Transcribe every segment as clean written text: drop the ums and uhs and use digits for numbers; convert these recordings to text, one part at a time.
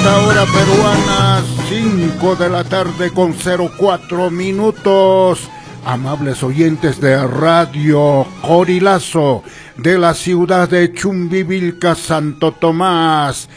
Esta hora peruana, 5 de la tarde con 04 minutos. Amables oyentes de Radio Corilazo de la ciudad de Chumbivilca, Santo Tomás.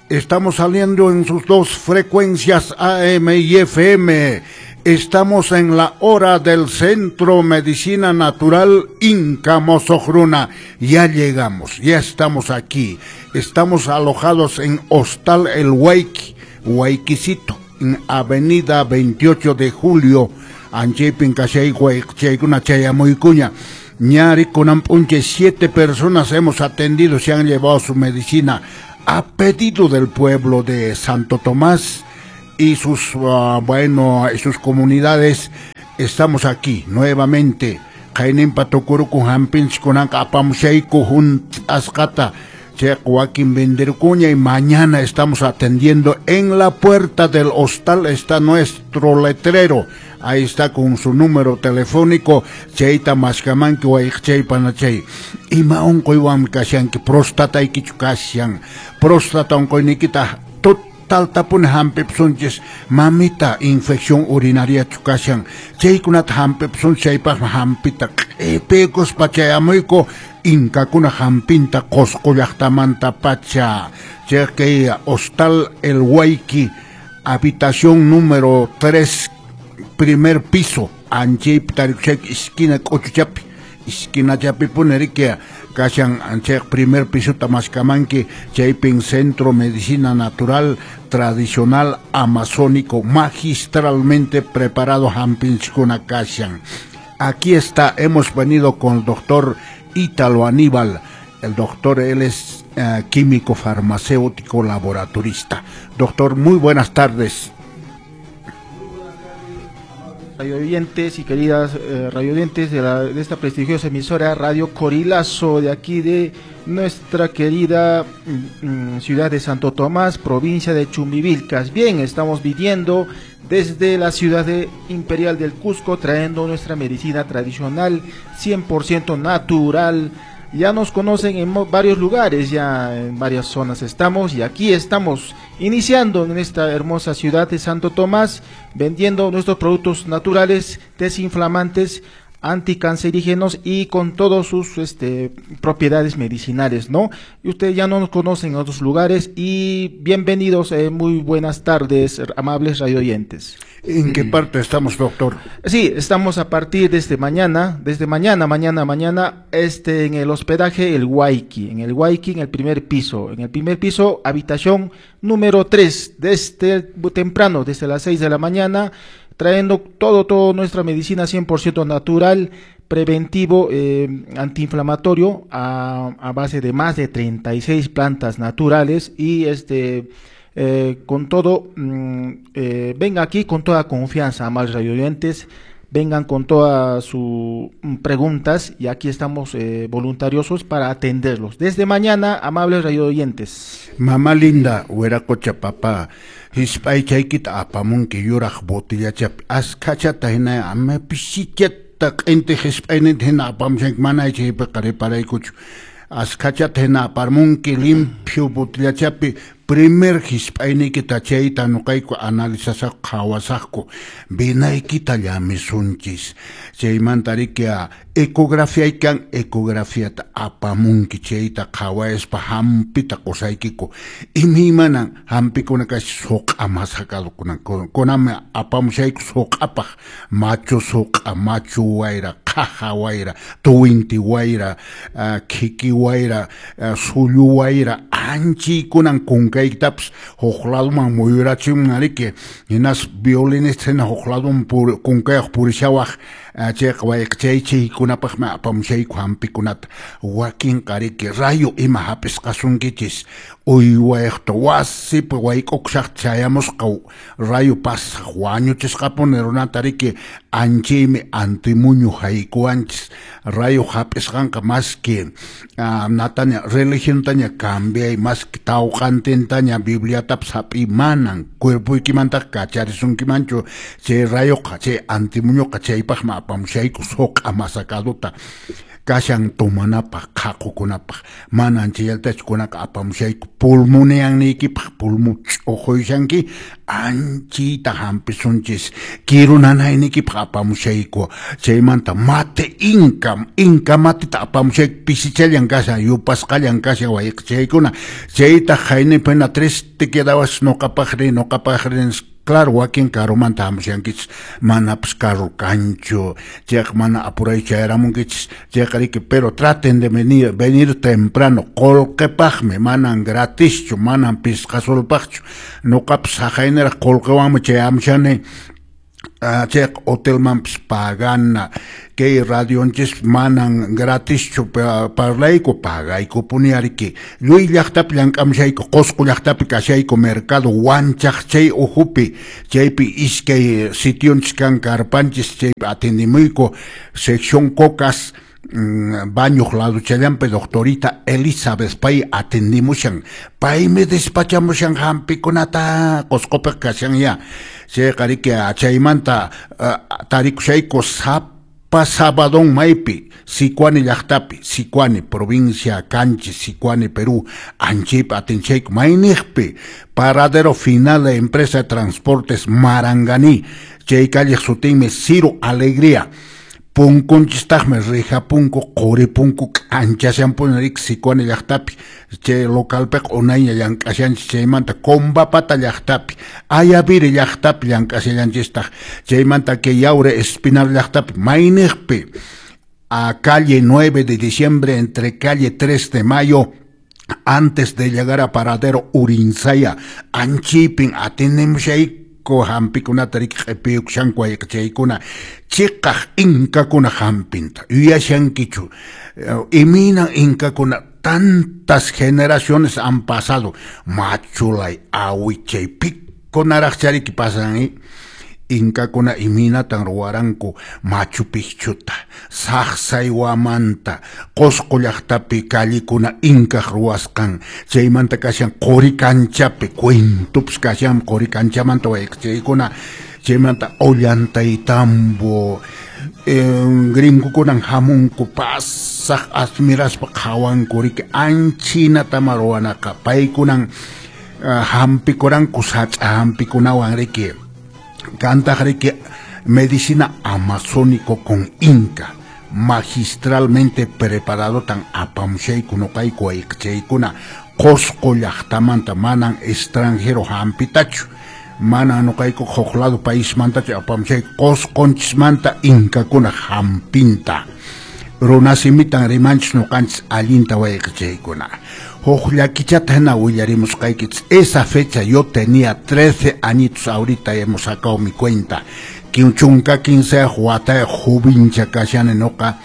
Estamos saliendo en sus dos frecuencias AM y FM. Estamos en la hora del Centro Medicina Natural Inca Mosojruna. Ya llegamos, ya estamos aquí. Estamos alojados en Hostal El Huayqui, Huayquicito, en Avenida 28 de Julio. Anchaypin kashay chaykuna chayamuykuña. Ñari kunanp'unchay 7 personas hemos atendido, se han llevado su medicina a pedido del pueblo de Santo Tomás y sus sus comunidades. Estamos aquí nuevamente. Qayninpa tukuruku hampinchikkunanqa apamushayku hunt'asqata chayqa wakin venderkuña y mañana estamos atendiendo en la puerta del hostal está nuestro letrero. Ahí está con su número telefónico. Chayta maskamanki wayqchaypana chay. Ima unquywanmi kashanki, prostataykichu kashan. Próstata unquyniykita totaltapuni hampipsunchis. Mamita infección urinariachu kashan. Chaykunata hampipsunchis, chaypaqmi hampita q'ipiykuspa chayamuyku inkakuna hampinta Qosqo llaqtamanta pacha. Chay kay Hostal El Huayqui, habitación número 3, primer piso, anchaypi tarikushayki esquina k'uchuchapi, esquina chapipuni riki kashan chay primer pisota maskamanki, chaypin Centro Medicina Natural Tradicional Amazónico, magistralmente preparado hampinchikuna kashan. Aquí está, hemos venido con el doctor Ítalo Aníbal. El doctor, él es químico farmacéutico laboratorista. Doctor, muy buenas tardes. Radioyentes y queridas radioyentes de esta prestigiosa emisora Radio Corilazo de aquí de nuestra querida ciudad de Santo Tomás, provincia de Chumbivilcas. Bien, estamos viviendo desde la ciudad de Imperial del Cusco, trayendo nuestra medicina tradicional 100% natural. Ya nos conocen en varios lugares, ya en varias zonas estamos, y aquí estamos iniciando en esta hermosa ciudad de Santo Tomás, vendiendo nuestros productos naturales, desinflamantes, anticancerígenos y con todas sus propiedades medicinales, ¿no? Y ustedes ya no nos conocen en otros lugares y bienvenidos, muy buenas tardes, amables radioyentes. ¿En qué parte estamos, doctor? Sí, estamos a partir de mañana, en el hospedaje El Huayqui, en el Huayqui, en el primer piso, habitación número 3, desde temprano, desde las 6 de la mañana, trayendo todo nuestra medicina 100% natural, preventivo, antiinflamatorio, a base de más de 36 plantas naturales y con todo, venga aquí con toda confianza, amables radioyentes, vengan con todas sus preguntas y aquí estamos voluntariosos para atenderlos. Desde mañana, amables radioyentes. Mamá linda, hueracocha papá, hisp'aychaykita apamunki yuraq botillachapi, askachata hina ama pisichata q'inti hisp'ayninta hina apamushanki, mana chaypiqa reparaykuchu. Askachata hina aparmunki limpio botillachapi, primer hisp'ayniykita chayta nuqayku analizasaqku qhawasaqku, vinaykita llamisunchis. Chaymanta riki ecografiaykan ecografiata apamunki chayta qhawayaspa hampita qusaykiku. Imaymanan hampikuna kashi suq'a masakadukuna, kunanmi apamushayku suq'apaq, machu suq'a, machu wayra, qhaja wayra, tuwinti wayra, khiki wayra, sullu wayra, anchiykunan kunkaykitapas huk laduman muyurachimun riki, hinas violinista hina huk laduman kunkayuq purishawaq, chayqa wayqichay chaykunapaqmi apamushayku hampikunata. Wakinqa riki rayo ima hap'isqasunkichis, uywayqta wasipi wayk'ukushaqta chayamusqa rayo pasaq wañuchisqapuni runata riki, anchaymi antimuñu haykuwanchis. Rayo hap'isqanqa maski nataña religiontaña cambiay, maski tawqantintaña bibliatapas hap'iy, manan cuerpoykimantaqa kacharisunkimanchu chay rayoqa, chay antimuñuqa. Chaypaqmi apamushayku suq'a masakaduta. Kashan tomanapaq, qhaqukunapaq, manan chayllatachu kunaqa apamushayku Pulmoneanniykipaq pulmo ch'uquysanki anchita hampisunchis kiru nanayniykipaq apamushayku chaymanta mate inka matita apamushayku pisichallan kashan yupasqallan kashan wayqichaykuna chaytaq haynipina tres te quedabas noqapaqri claro wakin karumanta hamushankichis manapas carro kanchu chayqa mana apuray chayaramunkichis chayqa riki pero traten de venir temprano qullqipaqmi manan gratischu manan pisqa solpaqchu noqapas haqayniraq qullqiwanmi chayamushani chayqa hotelmanpas pagana kay radionchis manan gratischu parlayku pagaykupuni ariki lluy llaqtapi llank'amushayku Qusqu llaqtapi kashayku mercado Wanchaq chay uhupi chaypi iskay sitionchis kan karpanchis chaypi atendimuyku sección Cocas baño laduchallanpi doctorita Elizabeth pay atendimushan paymi despachamushan hampikunata Qusqupi kashan ya chayqa riki chaymanta tarikushayku sapa sabadón maypi Sicuani llaqtapi Sicuani provincia Canchi Sicuani Perú anchaypi atinchayku mayniqpi paradero final de empresa de transportes Maranganí chay calleq sutinmi Ciro Alegría punkunchistaqmi rija punku quri punku k'anchashanpuni riki Sicuani llaqtapi chay localpiqa unayña llank'ashanchis chaymanta Combapata llaqtapi Ayaviri llaqtapi llank'ashallanchistaq chaymanta kay Yaure Espinar llaqtapi mayniqpi a calle 9 de diciembre entre calle 3 de mayo antes de llegar a paradero Urinsaya anchipin atendemushay hampikunata riki q'ipiyukushanku wayqichaykuna chiqaq inkakuna hampinta yuyashankichu imaynan inkakuna tantas generaciones han pasado machulay awichay pikunaraqcha riki pasan inkakuna imaynatan ruwaranku Machu Picchuta Saqsaywamanta Qusqu llaqtapi callikuna inkaq ruwasqan chaymanta kashan Qurikanchapi cuentopas kashan Qurikanchamanta wayqichaykuna chaymanta Ollantaytambo gringokunan hamunku pasaq admiraspa qhawanku riki anchinatama ruwanaqa paykunan hampikuranku sach'a hampikunawan riki cantaq riki medicina amazónico con inca magistralmente preparado tan apamushayku noqayku wayqichaykuna Qusqu llaqtamanta manan extranjero hampitachu manan noqayku huk lado paismantachu apamushayku Qusqunchismanta inkakuna hampinta runasimitan rimanchis noqanchis allinta wayqichaykuna huk llakichata hina willarimusqaykichis esa fecha yo tenía 13 añitos ahorita hemos sacado mi cuenta chunka 15 watayuq jovincha kashani noqa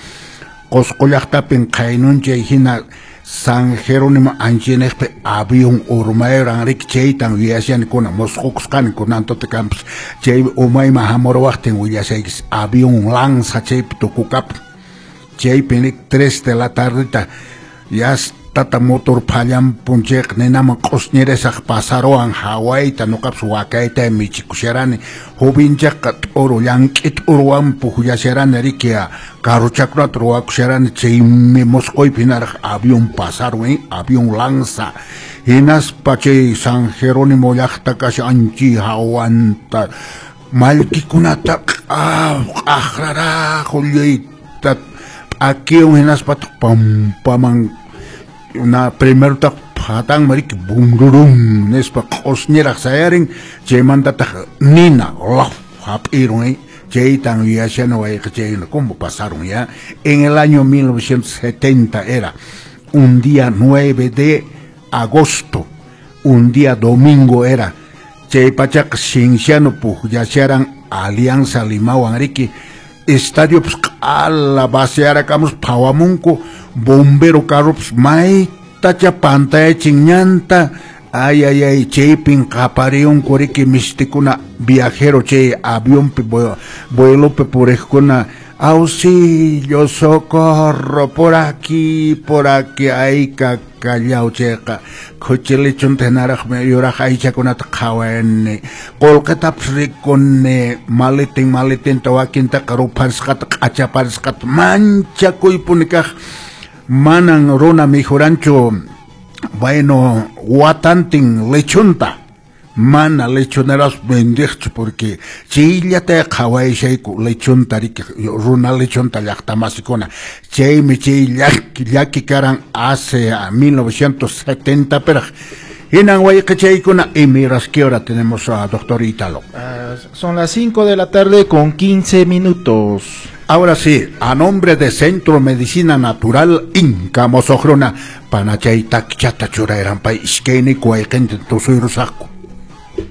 Qusqu llaqtapin qaynunchay hina San Jerónimo anchiniqpi avión urmayran riki chaytan yuyashani kuna musqukusqani kunantuta kanpas chay umayman hamuruwaqtin willashaykis avión lanza chaypi tukukapun chaypi riki 3 de la tardeta ya tata motor phallampun chayqa ninaman q'usñirisaq pasaruwan hawayta noqapas wakayta michikusharani jovinchaqqa t'uru llank'i t'uruwan pukllasharani riki carrochakunata ruwakusharani chaymi musquypi hinaraq avión pasarun avión lanza hinaspa chay San Jerónimo llaqta kashan anchi hawanta mallkikunata q'aqraraqu lluyta p'akiwan hinaspataq pampaman na primero taq phatanman riki bunrurum nispa q'usñiraq sayarin chaymantataq nina laf hap'irun chaytan yuyashani wayqichaykuna cómo pasaron ya en el año 1970 era un día 9 de agosto un día domingo era chay pachaqa Cienciano pukllasharan Alianza Limawan riki estadio pues q'ala vaciarakamus phawamunku bombero carropas maytacha pantayachin ñanta ay ay ay chaypin qapariyunku riki mistikuna viajero chay avionpi vuelopi puriqkuna auxilio socorro por aquí ay kakallaw chayqa khuchilichunta hinaraqmi yuraq aychakunata qhawani qullqitapas rikuni maletin maletinta wakintaqa rupharisqata q'achaparisqata manchakuypuni kaq manan runa mikhuranchu Bueno, watantin lechonta mana lechoneras vendeqchu porque chayllata qhawaysayku lechonta riki runa lechonta llaqtamasikuna chaymi chay llaki karan hace 1970 peraq. Hinan wayqichaykuna, y miras qué hora tenemos a doctor Ítalo. Son las 5 de la tarde con 15 minutos. Ahora sí, a nombre de Centro Medicina Natural Inca Mosojruna, panachay takchata churayranpay iskayniku wayqintin tusuyrusaqku.